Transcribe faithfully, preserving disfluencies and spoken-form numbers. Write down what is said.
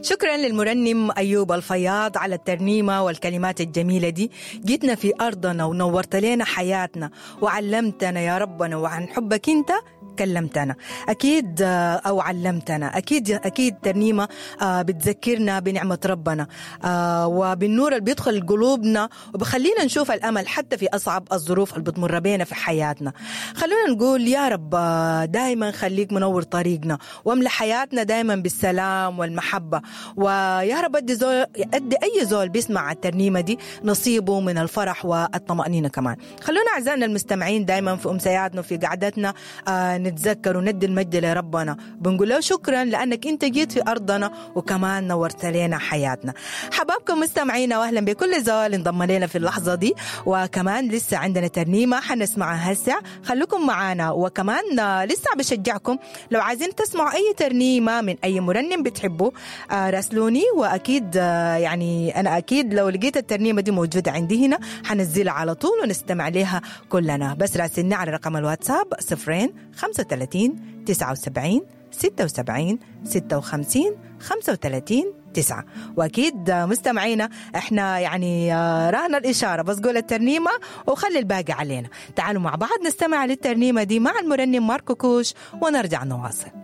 شكرا للمرنم أيوب الفياض على الترنيمة والكلمات الجميلة دي. جيتنا في أرضنا ونورت لنا حياتنا وعلمتنا يا ربنا، وعن حبك أنت كلمتنا أكيد، أو علمتنا أكيد. أكيد ترنيمة بتذكرنا بنعمة ربنا وبالنور اللي بيدخل قلوبنا وبخلينا نشوف الأمل حتى في أصعب الظروف اللي بتمر بينا في حياتنا. خلونا نقول يا رب دايما خليك منور طريقنا واملأ حياتنا دايما بالسلام والمحبة، ويا رب أدي زول، أدي أي زول بيسمع الترنيمة دي نصيبه من الفرح والطمأنينة كمان. خلونا أعزائنا المستمعين دايما في أمسياتنا وفي قعدتنا آه نتذكر وندي المجد لربنا، بنقول له شكرا لأنك أنت جيت في أرضنا وكمان نورت لنا حياتنا. حبابكم مستمعينا وأهلا بكل زول انضم لنا في اللحظة دي، وكمان لسه عندنا ترنيمة حنسمعها هسه، خلوكم معانا. وكمان لسه بشجعكم لو عايزين تسمعوا أي ترنيمة من أي مرنم بتحبوا آه راسلوني، وأكيد آه يعني أنا أكيد لو لقيت الترنيمة دي موجودة عندي هنا حنزلها على طول ونستمع لها كلنا. بس راسلني على رقم الواتساب صفرين خمسة وثلاثين تسعة وسبعين ستة وسبعين ستة وخمسين خمسة وثلاثين تسعة. وأكيد مستمعينا احنا يعني راهنا الإشارة، بس قول الترنيمة وخلي الباقي علينا. تعالوا مع بعض نستمع للترنيمة دي مع المرنم ماركو كوش ونرجع نواصل.